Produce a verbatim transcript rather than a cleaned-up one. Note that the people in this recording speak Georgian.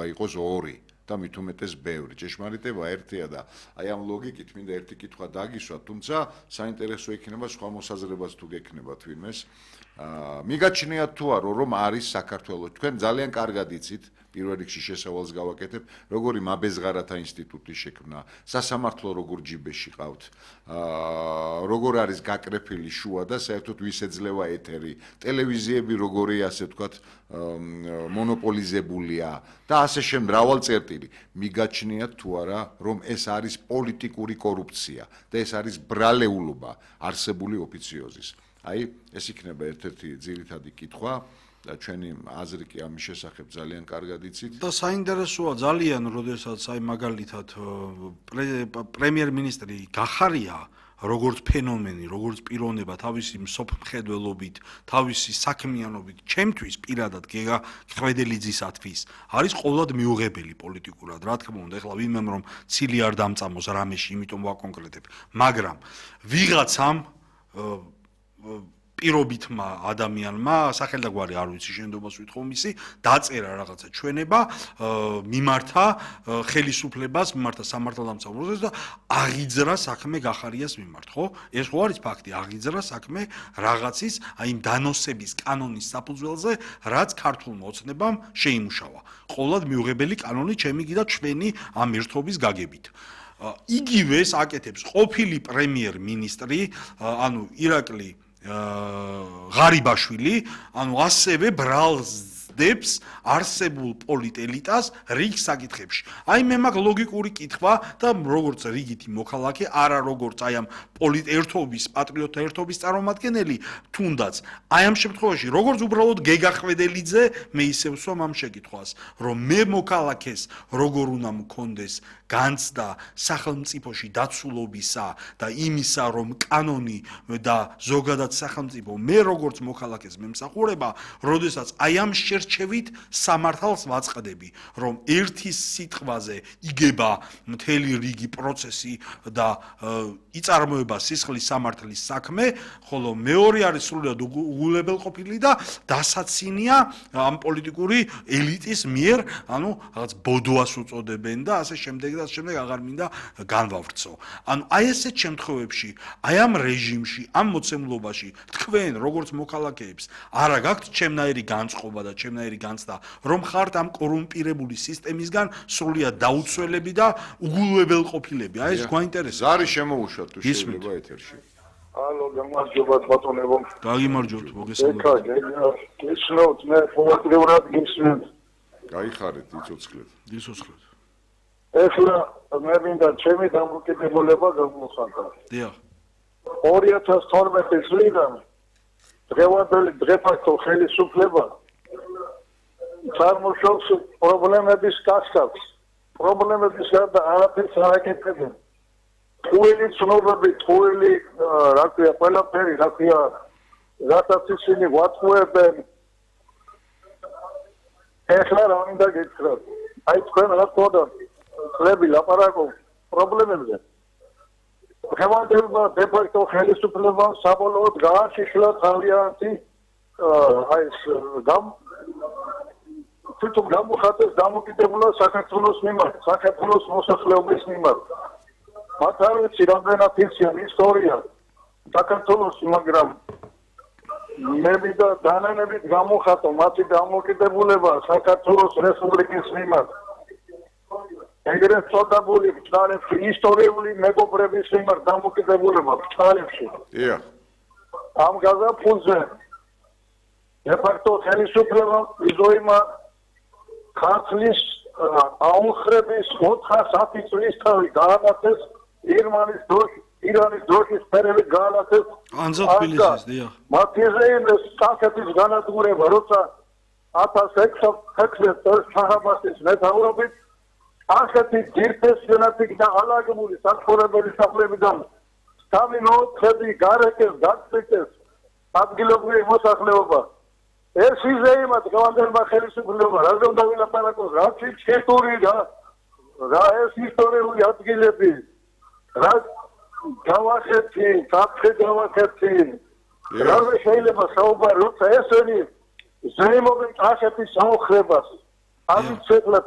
შეიძლება იყოს ორი და მით უმეტეს ბევრი. ჭეშმარიტება ერთია და აი ამ ლოგიკით მინდა ერთი კითხვა დაგისვა, თუმცა საინტერესო იქნება სხვა მოსაზრებას თუ გექნებათ ვინმეს. მიგაჩნიათ თუ არა, რომ არის საქართველოს, თქვენ ძალიან კარგად იცით, პირველ რიგში შესავალს გავაკეთებ, როგორი მაბეზღარათა ინსტიტუტი შექმნა, სასამართლო როგორ ჯიბეში ყავთ, როგორ არის გაკრეფილი შუა და საერთოდ ვის ეძლევა ეთერი, ტელევიზიები როგორი ასე ვთქვათ მონოპოლიზებულია და ასე შემდეგ მრავალ წერტილი. მიგაჩნიათ თუ არა, რომ ეს არის პოლიტიკური კორუფცია და ეს არის ბრალეულობა არსებული ოფიციოზის. აი, ეს იქნება ერთ-ერთი ძირითადი კითხვა. და ჩვენი აზრი კი ამის შესახებ ძალიან კარგად იცით. და საინტერესოა ძალიან, როდესაც აი მაგალითად პრემიერ-მინისტრი გახარია როგორც ფენომენი, როგორც პიროვნება თავისი მსოფლმხედველობით, თავისი საქმიანობით, ჩემთვის პირადად გეგა ხვედელიძისათვის არის ყოველად მიუღებელი პოლიტიკურად. რა თქმა უნდა, ეხლა ვინმემ რომ ცილი არ დამწამოს რამეში, იმიტომ ვაკონკრეტებ, მაგრამ ვიღაცამ პირობითმა ადამიანმა, სახელდაგვარი არ ვიცი, შენდობას ვითხოვ მისი, დაწერა რაღაცა ჩვენება, მიმართა ხელისუფლებას, მიმართა სამართალდამცავ პროცესს და აღიძრა საქმე გახარიას მიმართ, ხო? ეს ხო არის ფაქტი, აღიძრა საქმე რაღაცის, აი იმ დანოსების კანონის საფუძველზე, რაც ქართულმა ოცნებამ შეიმუშავა. ყოველად მიუღებელი კანონი ჩემი კიდე ჩვენი ამ ერთობის გაგებით. იგივეს აკეთებს ყოფილი პრემიერ-მინისტრი, ანუ ირაკლი ღარიბაშვილი, ანუ ასევე ბრალსდებს არსებულ პოლიტელიტას რიგ საკითხებში. აი მე მაგ ლოგიკური კითხვა და როგორც რიგითი მოქალაქე, არა როგორც აი ამ პოლიტერთობის, პატრიოტთა ერთობის წარმომადგენელი, თუნდაც აი ამ შემთხვევაში, როგორც უბრალოდ გეგა ხვედელიძე, მე ისევ ვსვამ ამ შეკითხვას, რომ მე მოქალაქეს როგორ უნდა მქონდეს განცდა სახელმწიფოში დაცულობისა და იმისა, რომ კანონი და ზოგადად სახელმწიფო მე როგორც მოქალაქეს მემსახურება, როდესაც აი ამ შერჩევით სამართალს ვაწყდები, რომ ერთის სიტყვაზე იგება მთელი რიგი პროცესი და იწარმოება სისხლის სამართლის საქმე, ხოლო მეორე არის სრულად უგულებელყოფილი და დასაცინია ამ პოლიტიკური ელიტის მიერ, ანუ რაღაც ბოდოას უწოდებენ და ასე შემდეგ და ასე შემდეგ აღარ მინდა განვავრცო. ანუ აი ესეთ შემთხვევებში, აი ამ რეჟიმში, ამ მოცემულობაში თქვენ როგორც მოქალაქეებს არა გაქვთ ჩემნაირი განწყობა და ჩემნაირი განცდა, რომ ხართ ამ კორუმპირებული სისტემისგან სრულიად დაუცველები და უგულებელყოფილები. აი ეს გვაინტერესებს. ზარი შემოუშვათ თუ შეიძლება ეთერში. ალო, გამარჯობა ბატონებო. გაგიმარჯობთ, მოგესალმებით. ეკა, გესმოთ, მე ყოველდღიურად გისმენთ. გაიხარეთ, იცოცხლეთ. იცოცხლეთ. ეხლა მე მინდა ჩემი დამოკიდებულება გამოვხატო. დიახ. ორი ათას თორმეტი წლიდან დღევანდელი დღეფაქტო ხელისუფლება წარმოშობს პრობლემების კასკადს. პრობლემების გარდა არაფერს არ აკეთებენ. ტყუილი ცნობები, ტყუილი, რა ქვია, ყველაფერი, რა ქვია, რატაც ისინი ვატყუებენ. ეხლა რა მინდა გითხრათ? აი თქვენ რა თქმა წლები ლაპარაკობ პრობლემებზე. დღევანდელმა დე-ფაქტო ხელისუფლებამ საბოლოოდ გააშიშლა თავიანთი აი ეს გამ თვითონ გამოხატეს დამოკიდებულა საქართველოს მიმართ, საქართველოს მოსახლეობის მიმართ. მათ არ ვიცი რამდენად იციან ისტორია საქართველოს, მაგრამ მე მინდა დანანებით გამოხატო მათი დამოკიდებულება საქართველოს რესპუბლიკის მიმართ. ეგრეთ წოდებული ბრძანებში, ისტორიული მეგობრების მიმართ დამოკიდებულება ბრძანებში. დიახ. ამ გაზაფხულზე დე-ფაქტო ხელისუფლებამ იზოიმა ქართლის აუხრების ოთხას ათი წლის თავი გაანათეს ირმანის დროშის, ირანის დროშის ფერებით გაანათეს ანზა თბილისის, დიახ. მათიზეინეს კახეთის განადგურება, როცა ათას ექვსი წელს შაჰ-აბასის მეთაურობით ახეთი ძირფესიანათი და ალაგებული საცხოვრებელი სახლებიდან სამი მოოთხები გარეკეს, გაწყვიტეს ადგილობრივი მოსახლეობა. ეს იზეიმა დღევანდელმა ხელისუფლებამ რაზე უნდა ვილაპარაკოს, რა ჩიტური რა რა ეს ისტორიული ადგილები, რა გავახეთი, საფრთხე გავახეთი. რა შეიძლება საუბარი, როცა ესენი ზეიმობენ კახეთის საოხრებას. ამით შეკლა